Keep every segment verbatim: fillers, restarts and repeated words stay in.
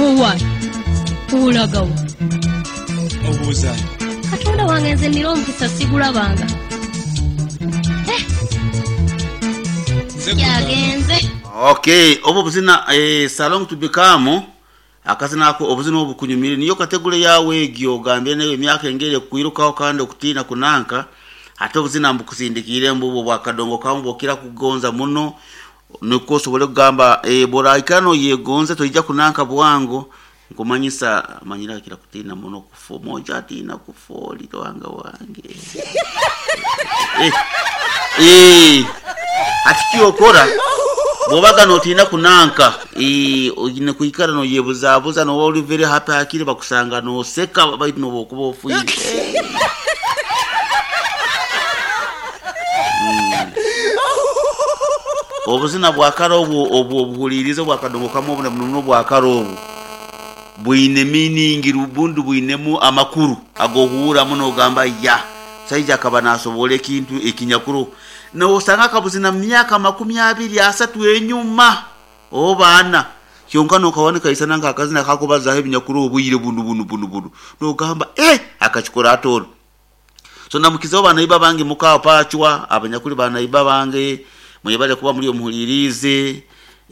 Owaye, olagawa? Obuuza. Katonda wange, nze nira omukisa sigulabanga. Eh, Nze kugamba. Yagenze. Okay, obu buzina eh, salong to become akazina ako, obuzina obu bukunyumire. Niyo kategore yawe egyo ogambye nayo emyaka engeri ekwirukaho kandi okutiina kunanka. Ate obuzina mbukusindikire mbubo bwakadongo kamu bwokira kugonza muno, nikwo osobole kugamba eh, boraikara noyegonza toija kunanka bwango. Nkumanyisa manyira kira kutiina muno kufa moja atiina kufa oli wanga wange eh, eh, ati kyokora bwobaga notiina kunanka eh, oine kwikara noyebuzabuza, noba oli very happy, hakiri bakusanga noseka baitu noba okuba ofiire. Obuzina bwakara obwo obwo obuhulirize bwakadongo kamwe obu muno bwakara obu bwine meaning, bundi bwinemu amakuru agohuura muno, ogamba ya saija akaba nasobola ekintu ekinyakuru. Nosanga akabuzina mu myaka makumi abiri asatu enyuma obaana kyonka nokawanika isana nk'akazina kakubazaho ebinyakuru obwire bunu bunu bunu bunu, nogamba eh, akakikora atoro. So namukizaho banaiba bange mukawa pachwa abanyakuli banaiba bange mwebale kuba muri omuhulirize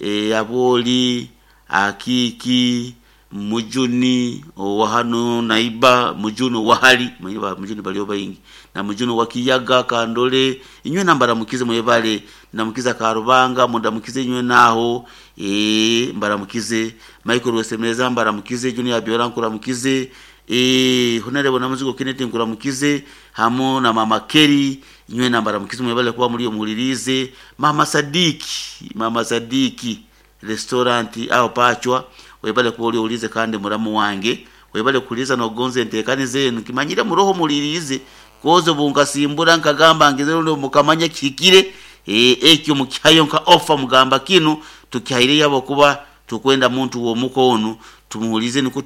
e, aboli akiki mujuni owahano naiba mujuni owahali mwiba mujuni baliyo baingi na mujuni wakiyaga kandole inywe nambara mukize mwebale namukiza karubanga mundamukize inywe naho e, mbaramukize Michael Wesemeza mbaramukize Junior Biora nkuramukize e, Honorable Namuzigo Kenneth nkuramukize hamo na Mama Kerry inywe nambara mukize mwebale kuba muri omuhulirize. Mama Sadiki, Mama Sadiki restaurant aho pachwa webale kuba uliulize kandi muramu wange webale kuliza nogonze entekane zenu kimanyire muroho mulirize kozo bunkasimbura nkagamba ngeze ndo mukamanya kikire e, ekyo mukyayo nka offer mugamba kinu tukihaire yabo kuba tukwenda muntu wo mukono tumuhulize niko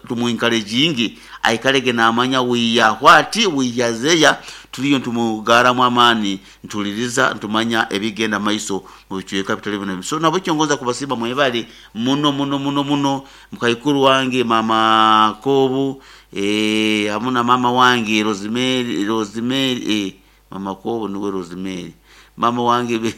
tumuencouraging aikalege namanya wiya wati wiyazeya tuliyo ntumugaramu amani ntuliriza ntumanya ebigenda maiso mu bicweka bitali bino. So nabo kyongoza kubasimba mwebale muno muno muno muno mukaikuru wange mama Kobu eh hamuna mama wange Rosemary Rosemary eh, mama Kobu niwe Rosemary mama wange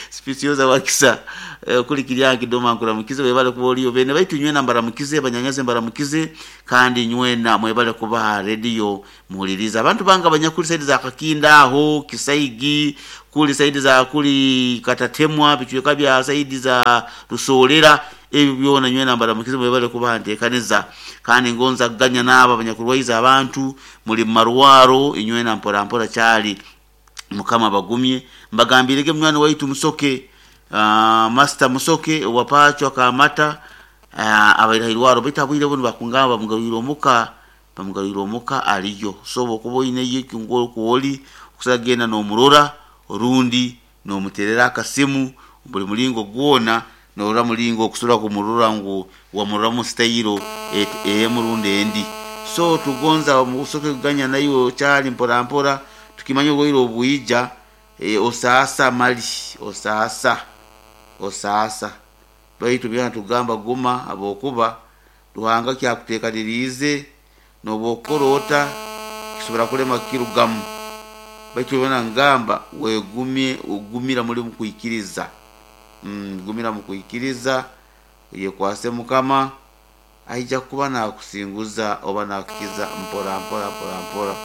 spicioza wakisa eh, kuli kiryangi doma nkuramukize webale kuba oliyo bene baitu nywe nambara mukize banyanyaze mbaramukize kandi nywe na mwebale kuba radio muhuliriza abantu banga banyakuli saidi za Kakinda aho Kisaigi kuli saidi za kuli Katatemwa bichweka bya saidi za Rusolera ebyo byona nywe nambara mukize mwebale kuba ntekaneza kandi ngonza ganya naba abanyakurwaiza abantu muri marwaro inywe na mpora mpora cyali mukama bagumye mbagambirege mwana waitu musoke uh, master musoke wapachwa kamata uh, abairahirwaro bitabwire bunu bakungamba mugarwiro omuka bamugarwiro omuka aliyo so bokuba ine yekingo kuoli kusagenda nomurora orundi nomuterera akasimu buli mulingo gwona norora mulingo okusura kumurora ngu wamurora mu style emurundi endi. So tugonza musoke kuganya nayo cyali mpora mpora tukimanya obwoire obwija e, osasa mali osasa osasa baitu byana tugamba guma abokuba Ruhanga kyakutekanirize nobokorota kisobora kulema kirugamu baitu byana ngamba wegumye ugumira muri mukwikiriza mm, gumira mukwikiriza yekwase mukama aija kuba nakusinguza oba nakukiza mpora mpora mpora mpora.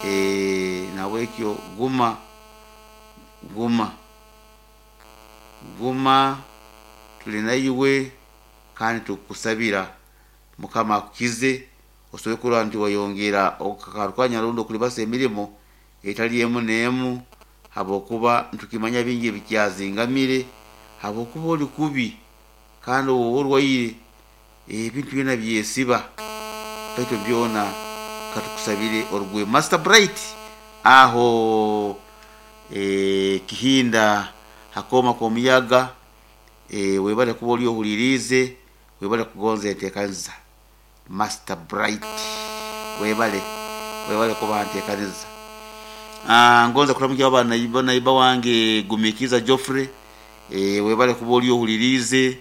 E, nawekyo guma guma guma tulina iwe kandi tukusabira mukama akukize osobe kurora nti wayongera okakarukanya rundo kulibasa emirimo etali emu n'emu habwokuba ntukimanya bingi ebikyazingamire habwokuba oli kubi kandi owoba orwaire ebintu byona byesiba baitu byona katukusabire orugwe. Master Bright aho e, Kihinda hakoma komuyaga e, webale kuba oli ohulirize webale kugonza enteekaniza Master Bright webale webale kuba nteekaniza. Ah, ngonza kulamukia abana naiba wange Gumikiza Geoffrey e, webale kuba oli ohulirize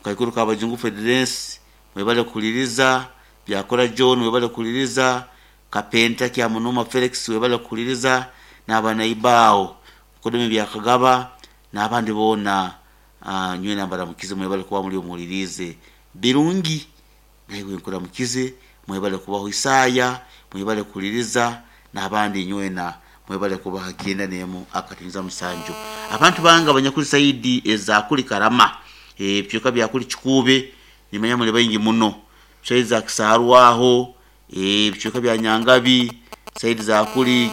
Mukaikuru Kabajungu Federensi mwebale kuhuliriza, Byakora John webale kuhuliriza, Kapenta Kyamunuma Felix webale kuhuliriza, n'abanaibaawo Kodome Byakagaba n'abandi boona, uh, nywena mbaramukize mwebale kuba muri omuhulirize birungi, naiwe nkuramukize mwebale kubaho Isaya mwebale kuhuliriza, n'abandi nywena mwebale kubaha kyenda nemu akatiniza musanju. Abantu banga abanyakuli saidi ezakuli Karama, ebicweka byakuli Kikuube nimanya muli baingi muno, saidi za Kisarwaho, ebicweka bya Nyangabi, saidi za kuli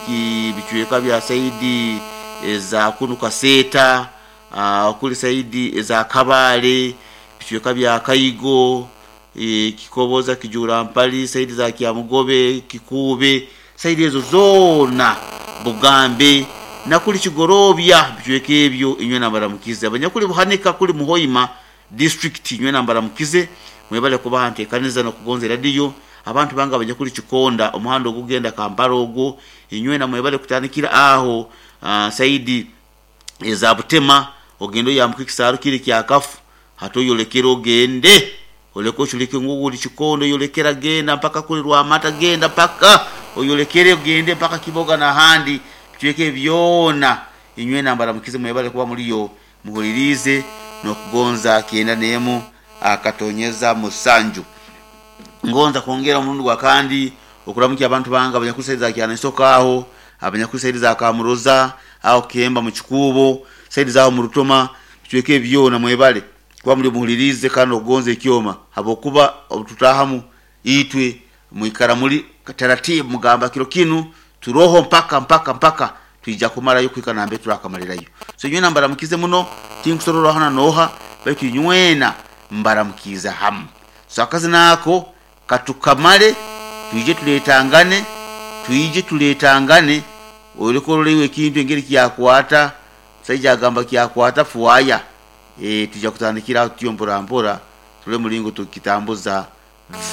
bicweka bya saidi eza kunu Kaseta, uh, kuli saidi eza Kabale, bicweka bya Kaigo, e, Kikoboza, Kijura Mpali, saidi za Kyamugobe, Kikuube, saidi ezo zona Bugambe nakuli Kigorobya, bicweka ebyo inywe nambaramukize. Abanyakuli Buhanika kuli Muhoima district inywe nambaramukize mwebale kubaha ntekaniza nokugonza radio. Abantu banga abanyakuli Kikonda omuhanda ogugenda Kampala ogwo inywe na mwebale kutandikira aho uh, saidi eza Butema ogendo yambuka ekisaaru kiri kyakafu hatoyolekera ogende oleko chulike ngugu Kikondo yolekera genda mpaka kuli Rwamata genda mpaka oyolekere ogende mpaka Kiboga na handi bicweke byona inywe nambaramukize mwebale kuba muliyo muhulirize nokugonza kyenda nemu akatonyeza musanju. Ngonza kwongera omurundi gwa kandi okuramukya abantu banga abanyakusaidiza kyana aho abanyakusaidiza Kamuroza aho Kemba mu Kikuubo saidiza aho mu Rutoma bicweke byona mwebale kuba muri muhulirize kandi okugonza ekyoma habokuba tutahamu itwe mwikara muri taratibu mugamba kiro kinu turoho mpaka mpaka mpaka tuija kumarayo kwika nambe turakamalirayo. So nywena mbaramukize muno tinkusorora hana noha baitu nywena mbaramukiza hamu. So akazi nako katukamale tuije tuletangane tuije tuletangane olekorolewe ekintu engeri kyakwata saija agamba kyakwata fuaya e, tuja kutandikira tuyo mpora mpora tule mulingo tukitambuza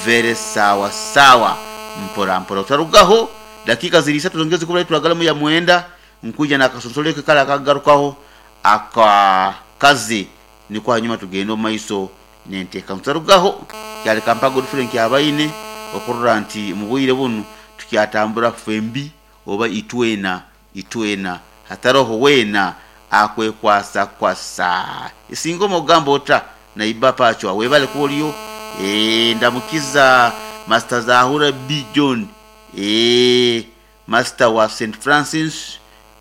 vere sawa sawa mpora mpora utarugaho dakika ziri isatu zongeze kubula turagalamu ya mwenda nkuja na kasonsoleke kala akagarukaho akakazi ni kwa nyuma tugenda maiso nenteka mutarugaho kyali kampago Frank abaine okurora nti mubwire bunu tukyatambura fembi oba itwena itwena hataroho wena akwekwasa kwasa isingo mogambo ota na ibapa achwa webale kuoliyo e, ndamukiza Master Zahura B John e, Master wa Saint Francis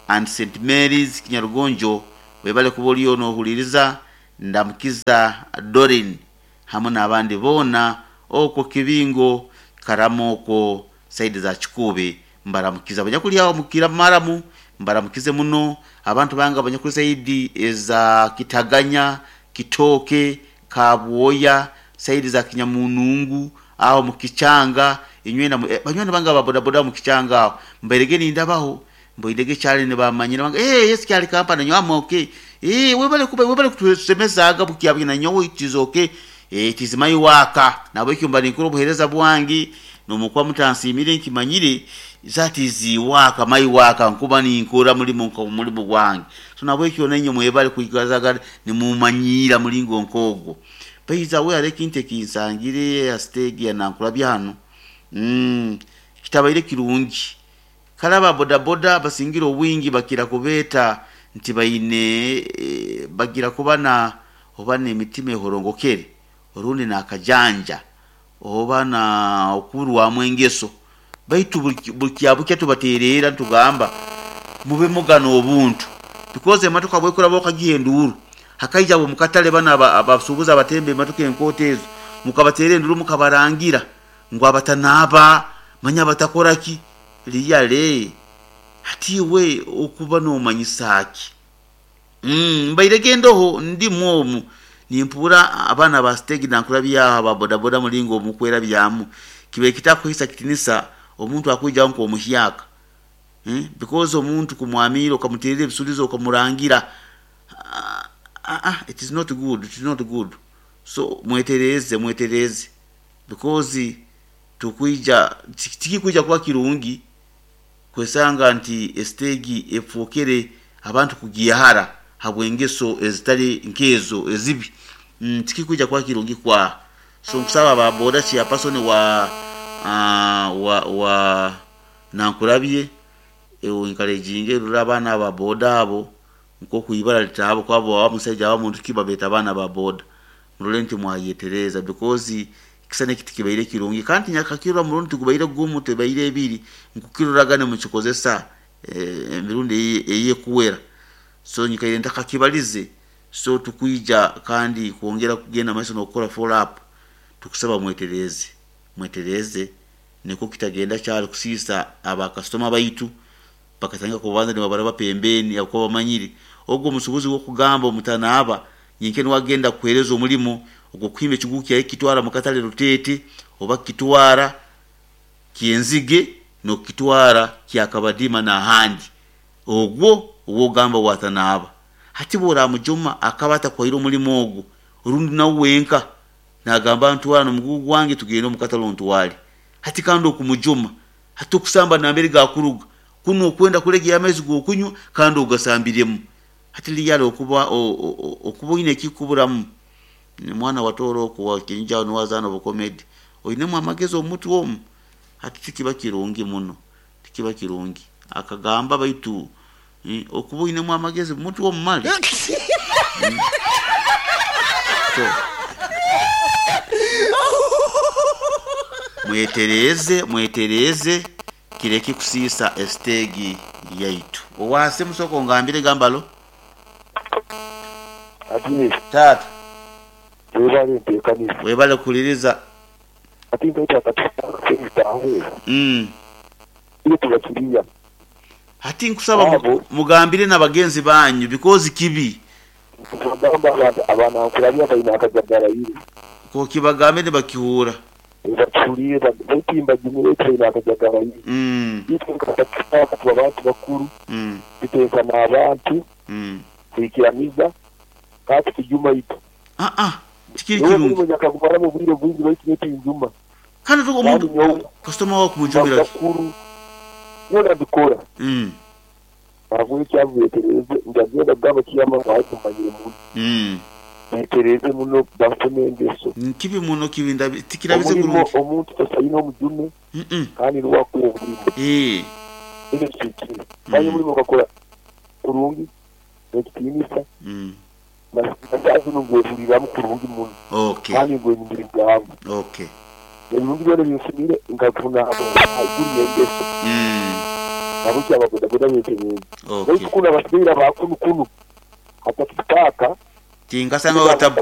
and Saint Mary's Kinyarugonjo webale kuoliyo nohuliriza. Ndamukiza Dorin hamwe n'abandi bona okwo Kibingo Karamoko saidi za Kikuube mbaramukiza abanyakuli aho mukira maramu mbaramukize muno. Abantu banga abanyakuli saidi eza Kitaganya Kitoke Kabwoya saidi za Kinyamunungu aho mukichanga inywena eh, banywena banga ababodaboda mukichanga aho mberege nindabaho mboidege cyane ne bamanyira banga eh yes cyali kampani nywamo okay eh webale kuba webale kutusemezaga bukyabina nyowe it is okay eh it is my waka nabo ikyumba ninkuru buhereza bwangi nomukwa mutansimire nkimanyire that is waka my waka nkuba ninkora muri munko muri bwangi so nabo ikyo nenyo mwebale kuikazaga ni mumanyira mulingo nkogo bayiza we areke intekinsangire ya stage ya nankura byano mm kitabaire kirungi kalaba bodaboda basingira obwingi bakira kubeta nti bayine e, bagira kubana oba n'emitima ehorongokere orundi nakajanja oba na okurwamu engeso baitu buli kyabukya tubateerera ntugamba mube mugana obuntu because emmotoka bwekora bokagiha enduuru hakaija abo mukatale bana abasuubuzi abatemba emmotoka enkoota ezo mukabateera enduuru mukabarangira ngu abatanaaba manya abatakoraki liyale hatiwe okuba nomanyisaki mm mbairege ndoho ndi mwomu nimpura abana ba stage nankura byaha aba bodaboda mulingo omukwera byamu kibe kitakuhisa kitinisa omuntu akuija nko omuhyaka hmm? Because omuntu kumwamira okamuterera ebisulizo okamurangira ah, ah, it is not good, it is not good. So mwetereze mwetereze because tukuija tikikuija kuba kirungi kwesanga nti estegi efokere abantu kugiyahara habwengeso ezitali nkezo ezibi. Mm, tikikwija kuba kirungi kwa so nkusaba aba boda chairperson wa uh, wa wa Nankulabye encouraging rura abaana aba boda abo nkokuibara litabo kwabo wa musajja wa muntu kiba beta abaana ba boda murole nti mwayetereza because kisane kitikibaire kirungi kandi nyakakirwa murundi tugubaire gumu tebaire ebiri nkukiruragane mukikozesa emirundi eye kuwera so nyikaire ntakakibalize so tukuija kandi kuongera kugenda maiso n'okukora follow up tukusaba mwetereze mwetereze niko kitagenda kyali kusisa aba customer baitu bakatanga kubanza ne babaraba pembeni akuba bamanyiri ogwo musubuzi wo kugamba omutanaaba nyenke wagenda kuhereza omulimo ogwo kuhimba ekiguki yaye kitwara mukatale rutete oba kitwara kienzige no kitwara kyakabadima na handi ogwo ogamba watanaaba hati bora mujuma akabata kwairo omulimo ogwo orundi nawe wenka nagamba ntwara nomugugu wange tugende omukatale ntwale hati kandi okumujuma hati okusamba nambere gakuruga kuno okwenda kulegya amaizi gokunywa kandi ogasambiremu hati liyale okuba okuba ine kikuburamu ni mwana watoro okuwa kinja nuwazana obukomedi oinemu amagezi omutu omu hati tikiba kirungi muno tikiba kirungi akagamba baitu eh, okuba oinemu amagezi mutu omu mali mm. So mwetereze mwetereze kireke kusisa estegi yaitu owase musoko ngambire gambalo ati tata webale ntekanisa webale kuliriza ati nkaita katika mm ile tubakiriya hati nkusaba mugambire n'abagenzi banyu because kibi tugamba abantu abana nkulabya balina akajagala yiri ko kibagambe bakihura bakihuliire batimba jimire balina akajagala yiri mm itwe katika tuba abantu bakuru mm biteeka n'abantu mm kuikiramiza kati kijuma ito ah ah tikiri kirungi omuntu akagumara mu bwire bwingi baitu netinjuma kandi tuko omuntu customer wa kumujumira bakuru nyola bikora mm ntabwo cyavuyetereze ndagenda gamba kiyama watumanyire mu mm netereze muno bafune engeso kibi muno kibi ndabi tikirabize kurungi omuntu tasayina omujume mm -mm. kandi lwakuwa omulimu eh ekyo kikiri kandi omulimu okakola kurungi ekitiinisa mm nasaazino ngwehuliramu kurungi muno okay kandi ngwenyumirizaamu okay ebirungi byona byenfunire nkafuna haiguru y'engeso mm nabo kyababodaboda betereeze okay baitu kuno abasigaire abakunu kunu hatakitaka tingasanga watabu